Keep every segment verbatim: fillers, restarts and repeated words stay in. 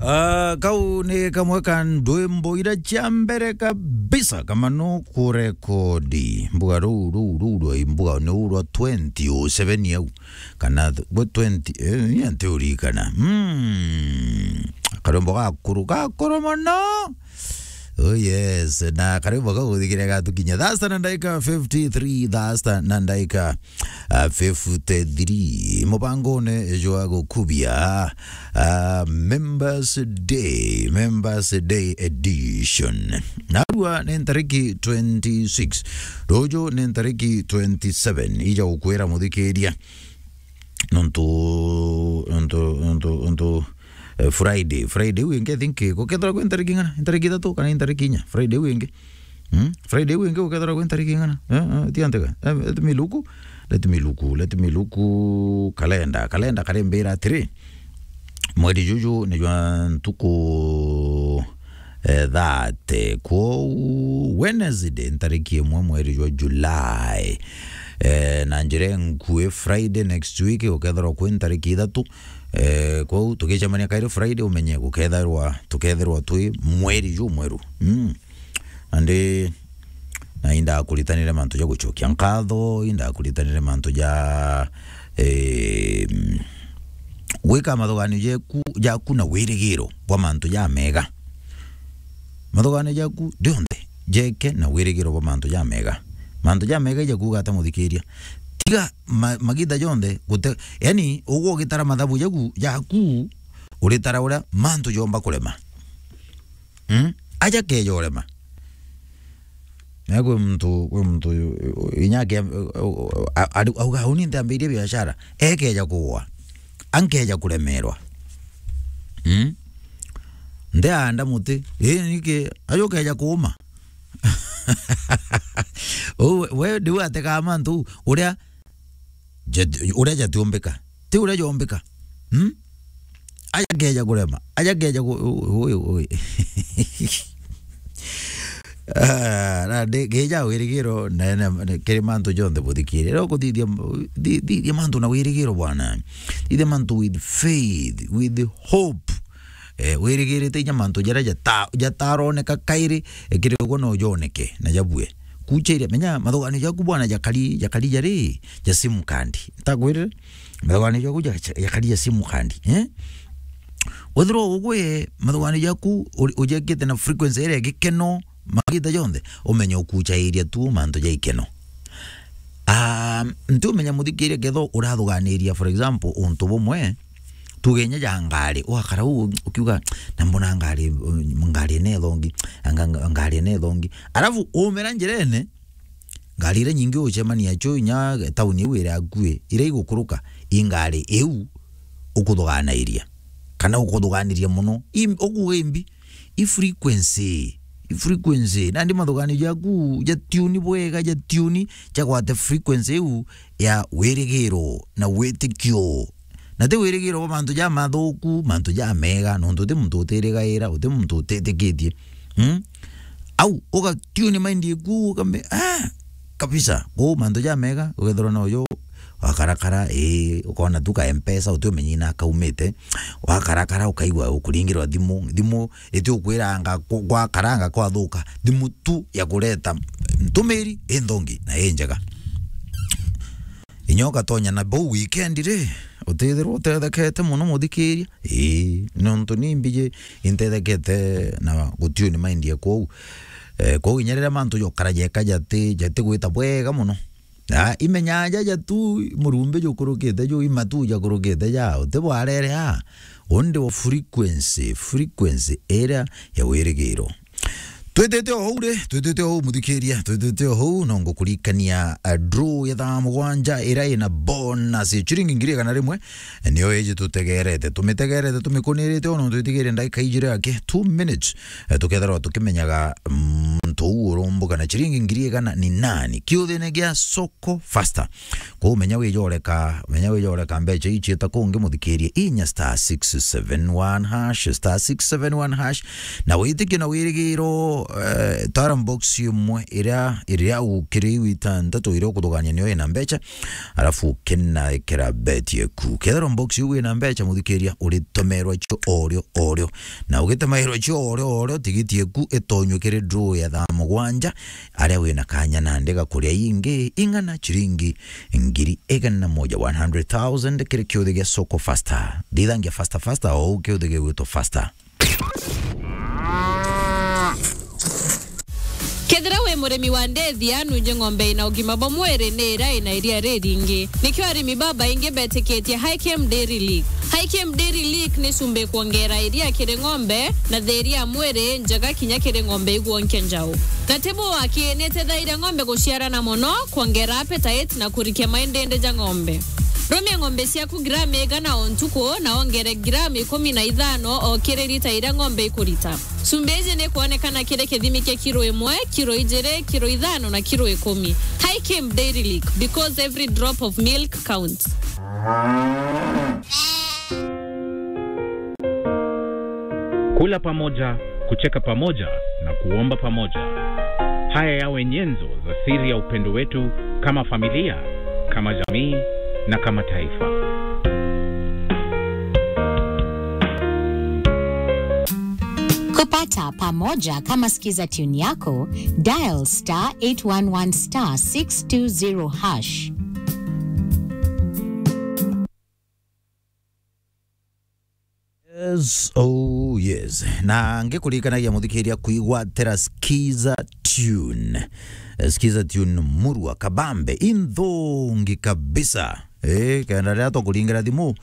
Ah, kau ni kamwe ka ndwimbo ira cia mbere kabisa kamano kurekodi. Mbuga ruu, ruu, ruu rwa mbuga ni ruu rwa twenty oh seven au. Kana th-, gwe twenty, eh, ni anti urikana. Mm. Karwimbo gakuru, gakuru mono. Oh yes, na karwimbo kau guthikire gatukinya. Thasta na ndaika fifty-three, thasta na ndaika, ah, fifty-three. Mubangone jwa gukubia, ah, Members Day, Members Day Edition. Narua ni ntariki twenty-six. Ruju ni ntariki twenty-seven. Ija gukwira muthikiria. Nontu, nontu, nontu, nontu, eh, Friday, Friday iu ingi, I think, gukethirwa kwi ntariki ng'ana? Ntariki ithatu kana ntariki inya? Friday iu ingi. Mm? Friday iu ingi gukethirwa kwi ntariki ng'ana? Eh, eh, ti antega. Eh, let me look. Let me look. Let me look. Kalenda. Kalenda karimbira atiri, mweri juju ni jwa ntuku eh, thirty. Kwou Wednesday, ntariki imwe mweri jwa July. Eh, na njira nkui Friday next week, gukethirwa kwi ntariki ithatu. Eh, kwou tugicemania kairi Friday, umenye gukethirwa, tukethirwa twi mweri jumweru. Mm. Nandi na indaga kuritanire mantu ja gucokia nkatho, indaga kuritanire mantu ja, eh, gwika mathuganio jeku, jaku na wirigiro bwa mantu jamega. Mathuganio jaku jonthe jeke na wirigiro bwa mantu jamega. Mantu jamega ija kuuga ata, muthikiria? Tiga ma-, magita jonthe gute-, yani, ugwe ugitara mathabu jaku, jaku, uritara uria mantu jomba kurema. Mm? Aja keja urema. Na kwi muntu, kwi muntu, inya ake, a-, a-, auga, "Uni ntiambirie biashara." Ekeja kugwa. Ankeja kuremerwa. Mm? Ntiaanda muti. Ii, niki? Aja ukeja kuuma. Uu, we, we, ndiu ategaa mantu, uria jat-, uria jatiumbika. Ti uria jombika. Hmm? Aja keja kurema. Aja keja ku-, ui, ui, ui. Ah, na ndi-, keja wirigiro, na, na, na, kiri mantu jonthe buthikire. Ro kuthithia, thi-, thithia mantu na wirigiro, bwana. Thithia mantu with faith, with hope. Eh, wirigirite inya mantu jaria jata-, jataroneka kairi, eh, kiri ugwe no joneke na jabue. Kuchairia, menya mathuganio jaku bwana jakari, jakari jari ja sim card. Ntakwirire? Mathuganio jaku ja-, jakari ja sim card, eh? Wethirwa ugwe mathuganio jaku uri-, ujekite na frequency iria ya gikeno, magita jonthe, umenye ukuchairia tu mantu ja ikeno. Ah, ntiumenya muthikiria ketho urathuganiria, for example, untu bumwe, tuge inya ja ngari, wakara u ukiuga, "Na mbona ngari, ngari ene thongi, nga-, nga-, ngari ene thongi." Alafu umera njirene, ngari iria nyingi ucemania cio inya tauni iu iri akui, iria igukuruka, i ngari iu ukuthuganairia, kana ukuthuganiria mono. Im-, ukuuga imbi, i frequency, i frequency. Nandi mathuganio jaku ja tune bwega, ja tune, jagwate frequency iu ya wirigiro na witikio. Na ti wirigiro bwa mantu jamathuku, mantu jamega, nontu uti muntu utirigaira, uti muntu utitikitie. Mm? Au, uga tune mind iku, ukambe, ah, kabisa. Kwou mantu jamega, ugethirwa na uju, wakarakara, ii, ukona tu ka Mpesa, uti umenyi na kaumite. Wakarakara, ukaigua ukuringirwa thimu, thimu iti ukwiranga ku-, gwakaranga kwathuka, thimu tu ya kureta ntumiri i nthongi na i njega. Inya ugatonya na bau weekend ri, utithirwa utethekete mono muthikiria? Ii, nontu ni mbiji intethekete na gutiuni mind ya kwou. Eh, kwou inya riria mantu jokara jeka jati, jati gwita bwega mono. Ah, imenyaa jaja tu, murumbi jukurukite ju, imatu jakurukite ja, uti bwarere a. Undi wa frequency, frequency iria ya wirigiro. Twitite o hau ri, twitite o hau muthikiria, twitite o hau, no ngukurikania, a, draw ya thaa mugwanja iria ina bonus ya chiringi ngiri igana rimwe, nio iji tutegerete. Tumitegerete, tumikunirite o, no twitigire ndagika ijiri yake, two minutes, eh, tukethirwa tukimenyaga, mm, muntu uu urumbuka na ciringi ngiri igana ni nani? Kiuthine gia Soko Faster. Kou menya wijoreka, menya wijoreka mbeca ii ciita kungi, muthikirie, inya star six seven one hash, star six seven one hash, na witikie na wirigiro, eh, tara box imwe iria, iria ukiri iu itantatu iria ukuthugania niyo ina mbeca, arafu ukinaikira bet yeku. Kethirwa box iu ina mbeca, muthikiria, uritemerwa cio orio orio. Na ugitemerwa cio orio orio, tigiti yeku itonywe kiri draw ya thaa mugwanja, aria wina kanya nandi ga kuria ingi ing'ana ciringi ngiri igana na moja, one hundred thousand, kiri kiuthi gia Soko Faster. Thithangia faster faster, o uu kiuthi gigwitwa Faster. Kethira wi murimi wa ndethia, nunje ng'ombe ina ugima bwa mwiri ni iria ina iria riringi. Nikio arimi babaingi betikitie Hikem Dairy Lick. Hikem Dairy Lick ni cumbi kwongera iria kiri ng'ombe na thiria ya mwiri njega kinya kiri ng'ombe igwonkia njau. Na ti buu aki, ni itethairia ng'ombe guciarana mono, kwongera appetite na kurikia maindindi ja ng'ombe. Rumia ng'ombe ciaku gramu igana o ntuku na wongere gramu ikumi na ithano o kiri lita iria ng'ombe ikurita. Cumbi iji ni kwonekana kiri kithimi kia kiro imwe, kiro ijiri, kiro ithano na kiro ikumi. Hikem Dairy Lick, because every drop of milk counts. Kula pamoja, kucheka pamoja na kuomba pamoja. Haya yawe nyenzo za siri ya upendo wetu kama familia, kama jamii na kama taifa. Kupata pamoja kama Skiza Tune yako, dial star eight one one star six two zero hash. Yes, oh yes. Na ngikuririkanagia, muthikiria, kwigwatira Skiza Tune. Eh, Skiza Tune murua kabambe, inthungi kabisa. Eh, kenda riria tukuringira thimu,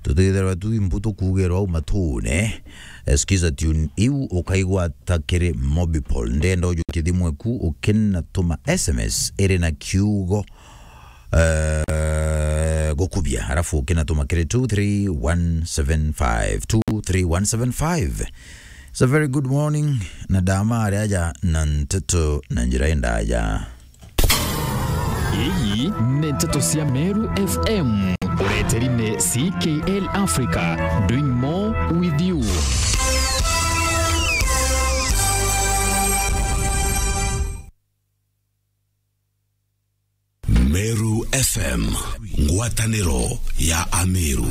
tutithirwa tu imbu tukugirwa au matune. Eh, Skiza Tune iu ukaigwata kiri Mobipol. Ndenda ujukie thimu eku ukinatuma S M S iri na kiugo eh, gukubia, arafu ukinatuma kiri two three one seven five, two three one seven five. It's a very good morning, na ndama ari aja na nteto na njira indaja. Iyi ni nteto cia Meru F M. Ureteri ni C K L Africa, doing more with you. Meru F M, ngwataniro ya Ameru.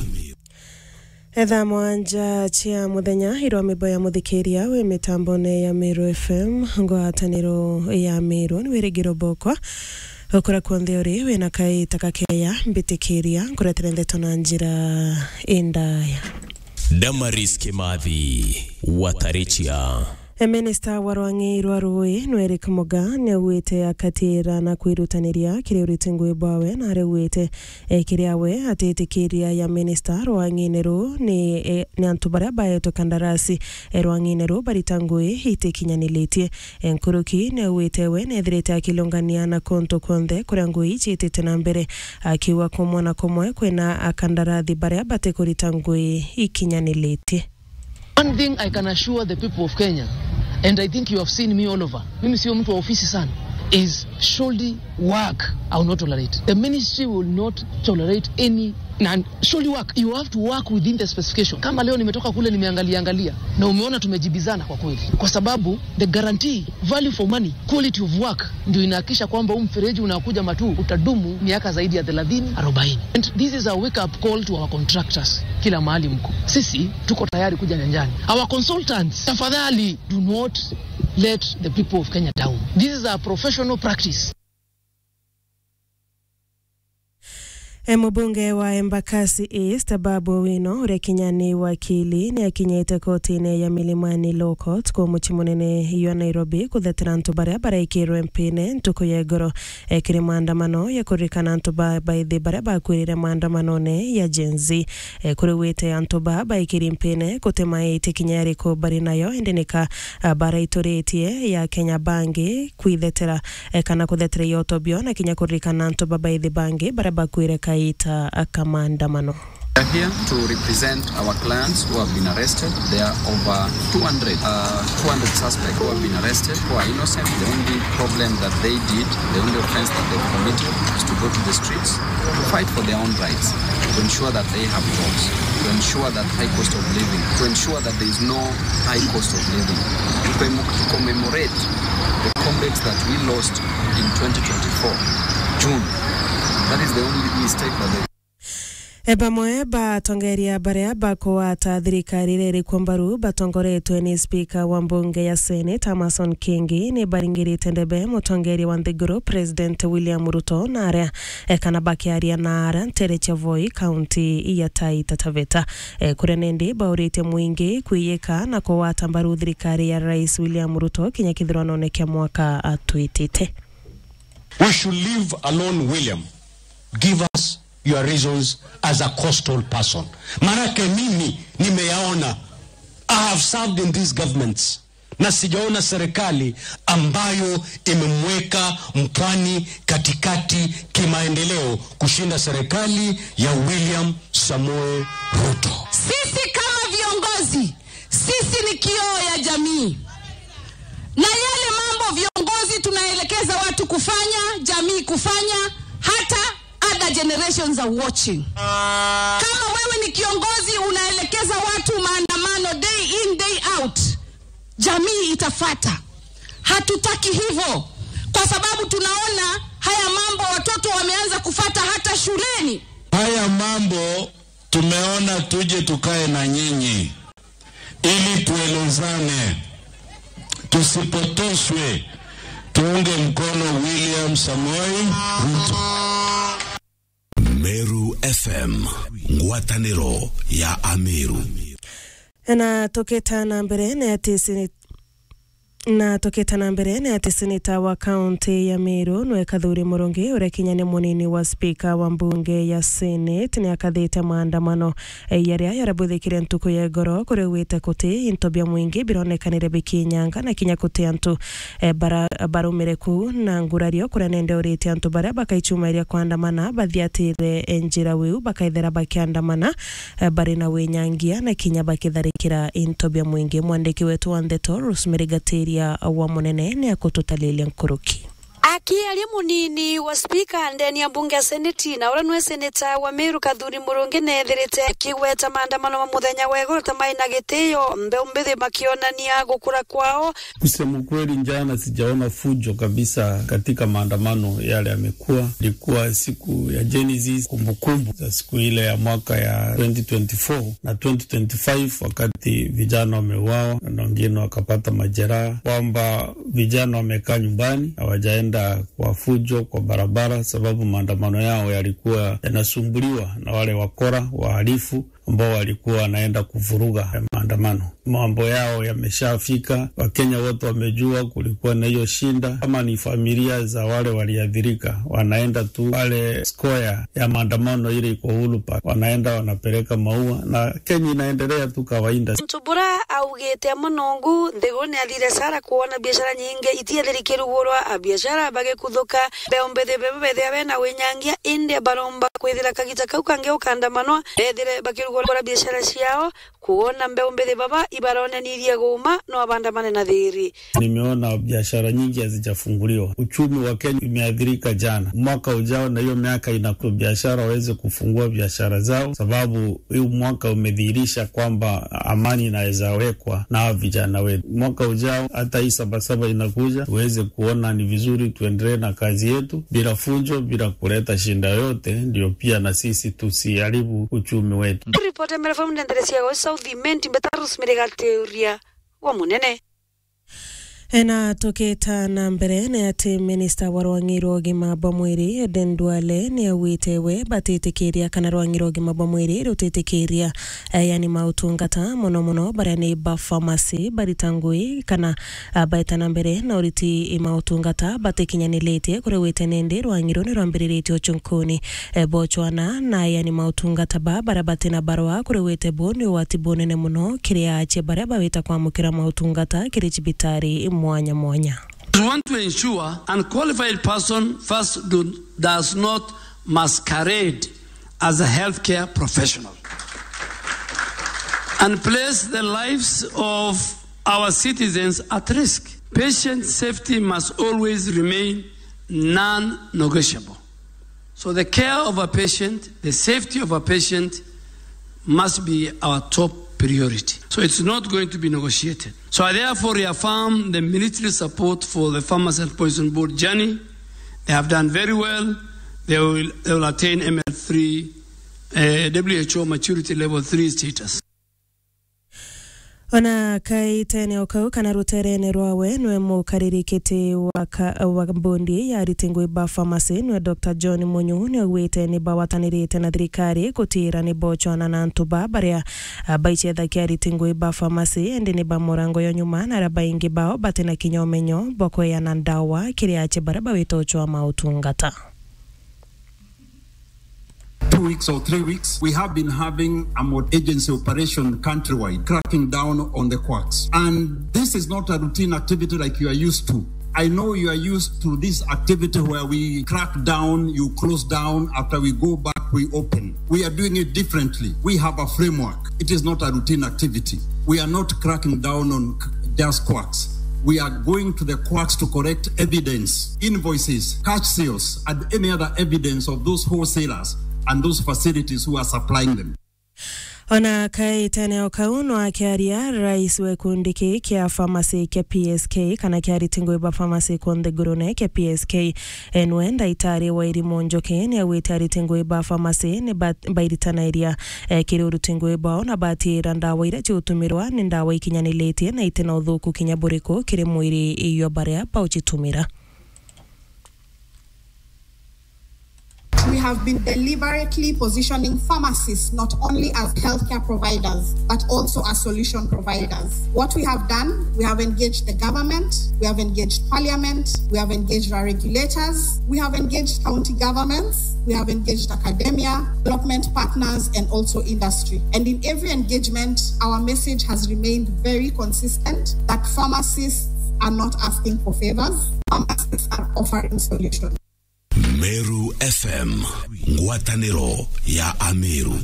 Etha mwanja cia muthenya, irwa mibo ya muthikiria wi mitambone ya Meru F M, ngwataniro ya Meru, ni wirigiro bokwa. Ukura kuonthe uri, wina kaita kakeya, mbitikiria, nkuretere ndeto na njira indaya. Damaris Kimathi, Watarichia. E, minista wa rwang'i rwa rui, Eric Muga, niaugite akatira na kwirutaniria kiri uriti ngui bwawe, na araugite, e, kiri awe atitikiria ya minista rwang'ine ruu ni, e, ni antu baria baetwe kandarasi, e, rwang'ine ruu barita ngui itikinyanilitie. E, nkuruki niaugite we nethirite akilungania na kuntu kwonthe kuria ngui iciitite na mbere, akiuga kumwe na kumwe kwina akandarathi baria batikurita ngui ikinyanilitie. One thing I can assure the people of Kenya, and I think you have seen me all over, mimi sio mtu wa ofisi sana, is shoddy work I will not tolerate. The ministry will not tolerate any, na shoddy work, you have to work within the specification. Kama leo nimetoka kule, nimeangalia angalia, na umeona tumejibizana kwa kweli, kwa sababu the guarantee, value for money, quality of work, ndio inahakikisha kwamba huu mfereji unakuja Matuu utadumu miaka zaidi ya thelathini, arobaini. And this is a wake up call to our contractors. Kila mahali mko, sisi tuko tayari kuja nyanjani. Our consultants, tafadhali, do not let the people of Kenya down. This is a professional practice. E, mubunge wa Embakasi East, Babu Owino, uria kinya ni wakili, ni akinyite kotine ya Milimani Law Court ku mucii munene jwa Nairobi kuthetera antu baria baraikirwe mpine ntuku ya igoro, e, kiri maandamano ya kuririkana antu ba baithi baria bakwirire maandamanone ya Gen Z. E, kuriwite antu ba baikiri mpine guti maiti kinya iriku bari nayo, indi nika, a, baraituritie ya Kenya Bangi kwithetera, e, kana kuthetera iotobio na kinya kuririkana antu babaithi bangi baria bakwire kaita ka maandamano. We're here to represent our clients who have been arrested. There are over two hundred, uh, two hundred suspects who have been arrested, who are innocent. The only problem that they did, the only offense that they committed, is to go to the streets to fight for their own rights, to ensure that they have jobs, to ensure that high cost of living, to ensure that there is no high cost of living, to commo-, to commemorate the comrades that we lost in twenty twenty-four, June. That is the only mistake that they E bamwe ba atongeria baria bakugwata thirikari iria irikwo mbaru batongoretwe ni spika wa mbunge ya Senate, Amason Kingi, ni baringirite ndebe mutongeria wa nthiguru, President William Ruto, na aria, e, kana bakiaria na aria ntere cia Voi, kaunti ya Taita Taveta. E, kuria nindi bauritie mwingi kwiyika na kugwata mbaru thirikari ya Rais William Ruto kinya kithurano kia mwaka atwitite. We should leave alone William. Give us your reasons as a coastal person. Maanake mimi nimeyaona. I have served in these governments. Na sijaona serikali ambayo imemweka mpwani katikati kimaendeleo kushinda serikali ya William Samoei Ruto. Sisi kama viongozi, sisi ni kioo ya jamii. Na yale mambo viongozi tunaelekeza watu kufanya, jamii kufanya, hata other generations are watching. Kama wewe ni kiongozi unaelekeza watu maandamano day in, day out, jamii itafata. Hatutaki hivyo, kwa sababu tunaona haya mambo watoto wameanza kufata hata shuleni. Haya mambo tumeona tuje tukae na nyinyi ili tuelezane, tusipotoshwe, tuunge mkono William Samoei Ruto. Meru F M, ngwataniro ya Ameru. Na tukita na mbere ni ati sini-, na tukita na mbere ni ati seneta wa kaunti ya Meru nwe Kathuri Murungi, uria kinya ni munini wa spika wa mbunge ya Senate, ni akathite maandamano, e, yaria yarabwithikire ntuku ya igoro, kuria augite kuti into bia mwingi bironekanire bikinyanga na kinya kuti antu, e, bara-, barumire ku na ngurario, kuria nende urite antu baria bakaichumairia kwandamana bathiatire, e, njira wiu bakaithira bakiandamana, e, bari na winyangia na kinya bakitharikira into bia mwingi. Mwandiki wetu wa ndeto Rosemary Gatiria wa Munene ni akututalilia nkuruki. Akiaria munini wa spika ndeni ya mbunge ya seneti, na uria nwe seneta wa Meru Kathuri Murungi, neethirite akigweta maandamano ma muthenya wa igoro ta mai na gitio, mbeu mbithi makionania gukura kwao. Kusema ukweli, jana sijaona fujo kabisa katika maandamano yale yamekuwa. Ilikuwa siku ya Gen Z, kumbukumbu za siku ile ya mwaka ya twenty twenty-four na twenty twenty-five, wakati vijana wameuawa na wengine wakapata majeraha, kwamba vijana wamekaa nyumbani, hawajaenda kwa fujo kwa barabara, sababu maandamano yao yalikuwa yanasumbuliwa na wale wakora, wahalifu, ambao walikuwa wanaenda kuvuruga maandamano. Mambo yao yameshafika, Wakenya wote wamejua kulikuwa na hiyo shinda. Kama ni familia za wale waliathirika, wanaenda tu pale square ya maandamano ile iko Uhuru Park, wanaenda wanapeleka maua, na Kenya inaendelea tu kawaida. Muntu bura augite amwe nongu nthiguru ni athire sara kuona biashara nyingi itiathiri kirugurwa, a biashara bagikuthuka, mbeu mbithi bebe bethia bena winyangia, indi baromba kwithira kagita kau kangi ukandamanwa, bethire bakirugura biashara ciao, kuona mbeu mbithi baba ibaronanirie guuma no abandamane na thiri. Nimeona biashara nyingi hazijafunguliwa. Uchumi wa Kenya imeathirika jana. Mwaka ujao na hiyo miaka inakuja, biashara waweze kufungua biashara zao, sababu huu mwaka umedhihirisha kwamba amani inaweza wekwa na hawa vijana wetu. Mwaka ujao, hata hii Sabasaba inakuja, tuweze kuona ni vizuri tuendelee na kazi yetu bila fujo, bila kuleta shinda yoyote, ndio pia na sisi tusiharibu uchumi wetu. Ripoti ya Meru F M ndenderecia go South Imenti, mbeta Rosemary Gatiria wa Munene. Ena tukita na mbere ni ati minista wa rwang'i rwa ugima bwa mwiri, Aden Duale, ni augite we batitikiria kana rwang'i rwa ugima bwa mwiri rutitikiria, eh, yani mautungata mono mono baria ni ba pharmacy barita ngui kana, ah, baeta na mbere na uriti mautungata batikinyaniritie kuria gwite nindi rwang'i ruu ni rwambiriritie uchunkuni, eh, bochwana na yani mautungata ba baria batina barua kuria gwite bu ni ugwati bunene mono kiri aachia baria bawita kwamukira mautungata kiri cibitari mwanya mwanya. We want to ensure unqualified person first do, does not masquerade as a healthcare professional and place the lives of our citizens at risk. Patient safety must always remain non-negotiable. So the care of a patient, the safety of a patient must be our top priority. So it's not going to be negotiated. So I therefore reaffirm the military support for the Pharmacy and Poison Board journey. They have done very well. They will, they will attain M L three, eh, W H O maturity level three status. Ona kaitene o kau kana ruterene rwawe, nwe mukariri kiti wa ka-, wa bondi ya ariti ngui ba pharmacy, nwe Doctor John Munyu, ni augite ni bawatanirite na thirikari gutira ni bochwana na antu ba baria, a, baicethagia ariti ngui ba pharmacy, indi ni ba murango yo nyuma, na aria baingi bao batina kinya umenyo bwa kweana ndawa kiri ache baria bawite uchwa mautungata. Two weeks or three weeks, we have been having a mod-, agency operation countrywide, cracking down on the quacks. And this is not a routine activity like you are used to. I know you are used to this activity where we crack down, you close down, after we go back, we open. We are doing it differently. We have a framework. It is not a routine activity. We are not cracking down on c-, just quacks. We are going to the quacks to collect evidence, invoices, cash sales, and any other evidence of those wholesalers and those facilities who are supplying them. Ona kaitene o kau, no akiaria rais wa gikundi kii kia pharmacy kia P S K, kana kia ariti ngui ba pharmacy kunthe ngurune kia P S K, enwe ndaitari wa irimu Njoki, ni augite ariti ngui ba pharmacy ni ba-, bairitanairia, eh, kiri uruti ngui bwao na batira ndawa iria ciutumirwa ni ndawa ikinyaniritie na itina uthuku kinya buriku kiri mwiri iyo baria baucitumira. We have been deliberately positioning pharmacists not only as healthcare providers, but also as solution providers. What we have done, we have engaged the government, we have engaged parliament, we have engaged our regulators, we have engaged county governments, we have engaged academia, development partners, and also industry. And in every engagement, our message has remained very consistent that pharmacists are not asking for favors, pharmacists are offering solutions. Meru F M, ngwataniro ya Ameru.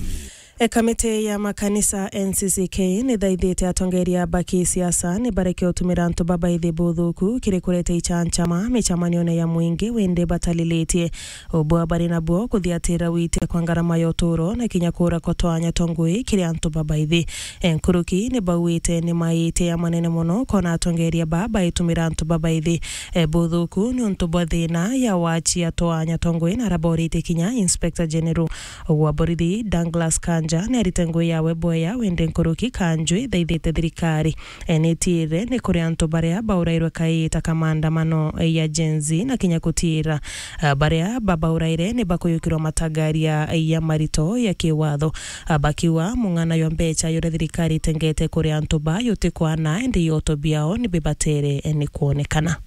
E, kamiti ya makanisa N C C K ni thaithite atongeria ba kisiasa ni bareke utumira antu babaithi buthuku kiri kureta ichanchama michamanione ya mwingi windi batalilitie ubwa bari nabwo kuthiatira witia kwa ngarama ya uturo na kinya kuura kwa twanya twa ngui kiri antu babaithi. E, nkuruki ni bauite ni maite ya manene mono kona atongeria ba baitumira antu babaithi, e, buthuku niuntu bwa thina ya wachi ya twanya twa ngui na araborite kinya Inspector General wa borithi Douglas Kanja ni arite ngui yawe bwea windi nkuruki Kanjwi thaithite thirikari, e, ni tiire ni kuri antu baria baurairwe kaita ka maandamano ya Gen Z na kinya kutiira, a, baria babauraire ni bakuyukirwa matagaria ya marito ya kiwatho, a, bakiuga mung'ana yo mbecha yuria thirikari itengete kuri antu ba yutikwana indi yoto biao ni bibatere, e, ni kwonekana.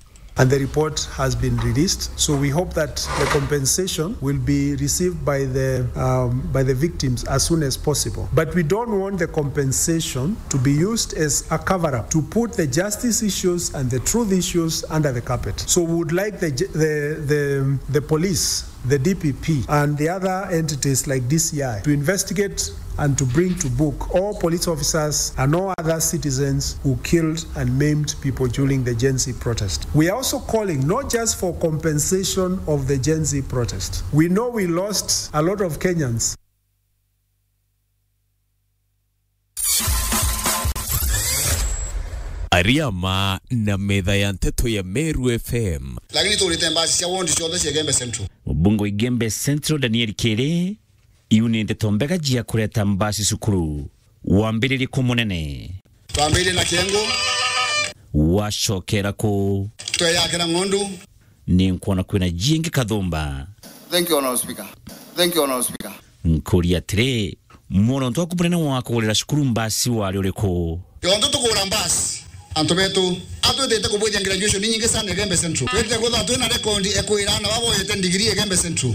And the report has been released. So we hope that the compensation will be received by the, um, by the victims as soon as possible. But we don't want the compensation to be used as a cover-up to put the justice issues and the truth issues under the carpet. So we would like the, the, the, the police, the D P P, and the other entities like D C I to investigate and to bring to book all police officers and all other citizens who killed and maimed people during the Gen Z protest. We are also calling not just for compensation of the Gen Z protest. We know we lost a lot of Kenyans. Ariama na metha ya nteto ya Meru F M. Lakini turite mbasi cia ward ciothe cia Igembe Central. Mubunge wa Igembe Central, Daniel Kiri, iu ni ndeto mbega cia kureta mbasi cukuru. Wambiririe ku munene. Twambiririe na Kiengu. Wacokera ku? Tweyakira Ng'ondu. Ni nkwona kwina jingi Kathumba. Thank you, Honorable Speaker. Thank you, Honorable Speaker. Nkuria atiri, muronto waku munene wa kugurira cukuru mbasi wari uriku? Yontu tukugura mbasi, antu betu, atwitite kubwithia graduation inyingi sana Igembe Central. Twitite kwithirwa twina rekondi ekwira na baboyete ndigiri Igembe Central.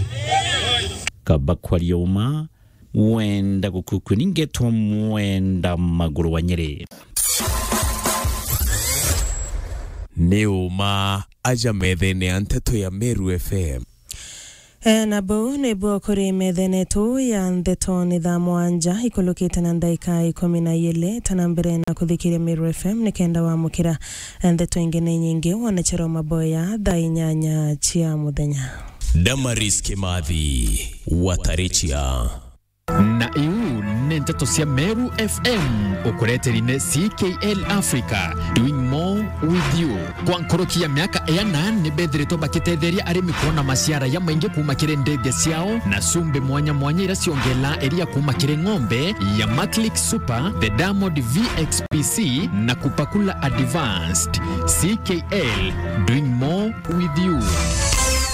Kaba kwaria uma, wenda gukukwe ningetwa mwenda maguru wa Nyeri. Ni uma aja methene ya nteto ya Meru F M. E, na buu nibuo kuri methene yetu ya ndeto ni thaa mwanja ikulukite na ndaika ikumi na iili. Tana mbere na kuthikiria Meru F M nikenda wamukira ndeto ingi ni nyingi wonecero maboya thaa inyanya cia muthenya. Damaris Kimathi, Watarichia. Na iu ni nteto cia Meru F M, ukureteri ni C K L Africa, doing more with you. Kwa nkuruki ya miaka iana, ni bethiritwe bakitetheria arimi kuona maciara ya maingi kuuma kiri ndithia ciao, na cumbi mwanya mwanya iria ciongela iria kuuma kiri ng'ombe ya Maclick Super, the Diamond V X P C, na Kupakula Advanced. C K L, doing more with you.